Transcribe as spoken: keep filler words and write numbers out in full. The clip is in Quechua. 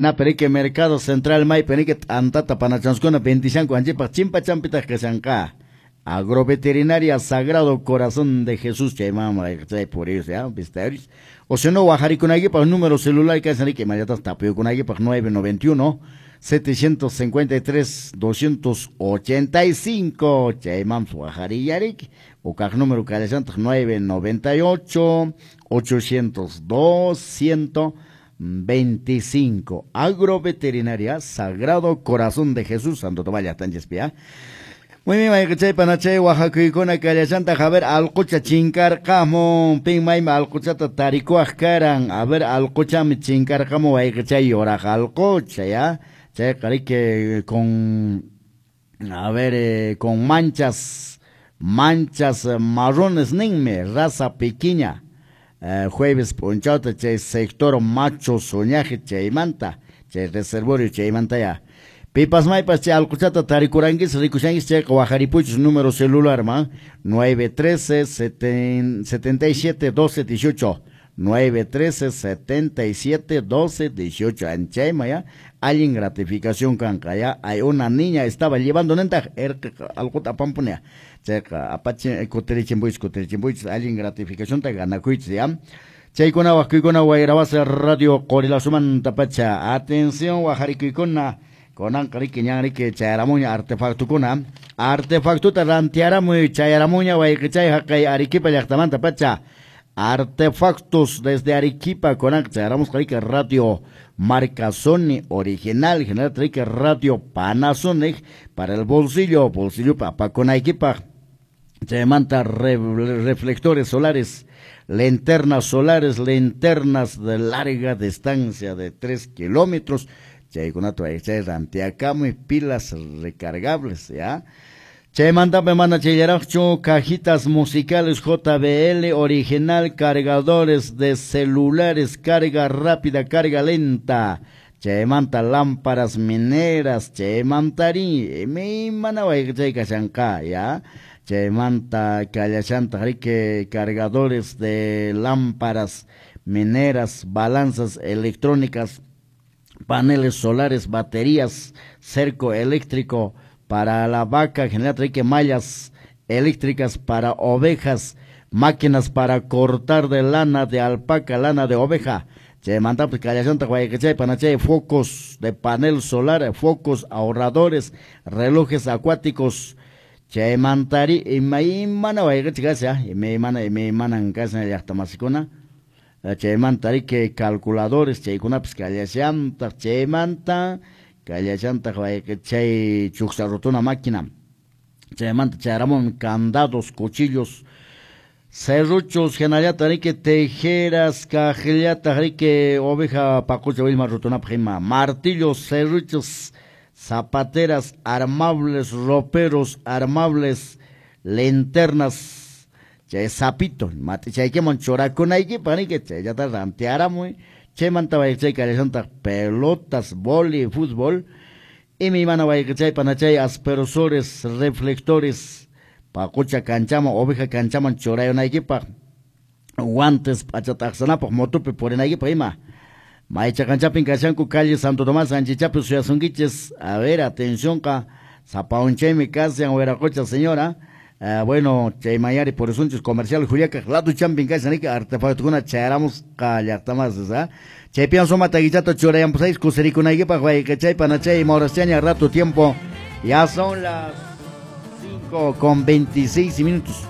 Na perike Mercado Central maypi riki t'antata panachanskuna vendishanku anchipaq chimpa champitaq kashanqa. Agroveterinaria Sagrado Corazón de Jesús chayman chay puriyus ya vistarius. O si no wajarikunaykipaq número celular kashan riki imallatas tapuykunaykipaq nueve noventa y uno setecientos cincuenta y tres doscientos ochenta y cinco chayman wajariyariki. O kaq número kallashantaq nueve noventa y ocho ochocientos dos ciento veinticinco. Agroveterinaria Sagrado Corazón de Jesús, Santo Tomás llaqtanchispia. Muy bien, mayqichay panachay wajakuykuna kallashantaq. A ver, alqucha chinkarqamun pin maymi alquchata tarikuaq karan. A ver, alquchami chinkarqamun wayqichay yuraq alqucha ya. Chayqa riki con, a ver, eh, con manchas, manchas marrones ninmi, raza pequeña. Eh, jueves p'unchawta chay sector macho soñaje chaymanta, chay reservorio chaymanta ya. Pipas maypas chay alquchata tarikuranquis rikushanquis chayqa wajaripuchus número celular man nueve trece setenta y siete doce dieciocho nueve trece setenta y siete doce dieciocho anchayma ya. Allin gratificación kanqa ya. Hay una niña estaba llevando nentaq erqa alquta apanpunia chayqa apachi kutirichinpuychis kutirichinpuychis allin gratificación ta ganakuychis ya. Chaykuna wajkuykuna Wayrawasi Radio Qorilasumanta pacha. Atención wajarikuykuna kunanqa riki ñan riki chayaramuña artefactukuna. Artefactuta rantiaramuy chayaramuña wayqichay haqay Arequipa llaqtamanta pacha. Artefactos desde Arequipa kunanqa chayaramusqa riki Radio marca Sony original, general riki Radio Panasonic para el bolsillo, bolsillo apakunaykipaq. Chaymanta re, reflectores solares, linternas solares, linternas de larga distancia de tres kilómetros. Chaykunata chay rantiakamuy pilas recargables ya. Chaymanta me manda chayllaraqchu cajitas musicales J B L original, cargadores de celulares, carga rápida, carga lenta. Chaymanta lámparas mineras, chaymantari, imana chay kashanqa ya. Chaymanta kallashanta riki cargadores de lámparas mineras, balanzas electrónicas, paneles solares, baterías, cerco eléctrico para la vaca, general riki mallas eléctricas para ovejas, máquinas para cortar de lana de alpaca, lana de oveja. Chaymanta pues kallashanta wayqichay panachay focos de panel solar, focos ahorradores, relojes acuáticos. Chaymantari imaymana wayqichay kasha, imaymana imaymanan kasha llaqtamasikuna. Chaymanta riki calculadores chaykunapis kallashantaq. Chaymanta kallashantaq wayqichay chuksa rutuna máquina. Chaymanta chayaramun candados, cuchillos, serruchos, hinallataq riki tijeras, kaqllataq riki oveja paqucha willma rutunapaq ima, martillos, serruchos, zapateras armables, roperos armables, linternas, chay sapito, matichaykiman churakunaykipaq riki chayllata rantiaramuy. Chaymanta wayqichay kallashantaq pelotas, vóley, fútbol. Imaymana wayqichay panachay aspersores, reflectores, paqucha kanchaman, oveja kanchaman churayunaykipaq, guantes p'achataqsanapaq, motopi purinaykipaq ima. Maycha kanchapin kashanku calle Santo Tomás Anchichapi suyasunkichis. A ver, atención ka sapaunchaymi kashan wiraqocha señora. Uh, bueno, chaymayari por asuntos comercial Juliaca lado champin kashan riki artefactukuna chayaramusqa llaqtamasis ¿ah? Chaypian suma taguichata churayampusáis kusirikunaykipaq wayqichay panachay mauraschaña rato tiempo. Ya son las cinco con veintiséis minutos.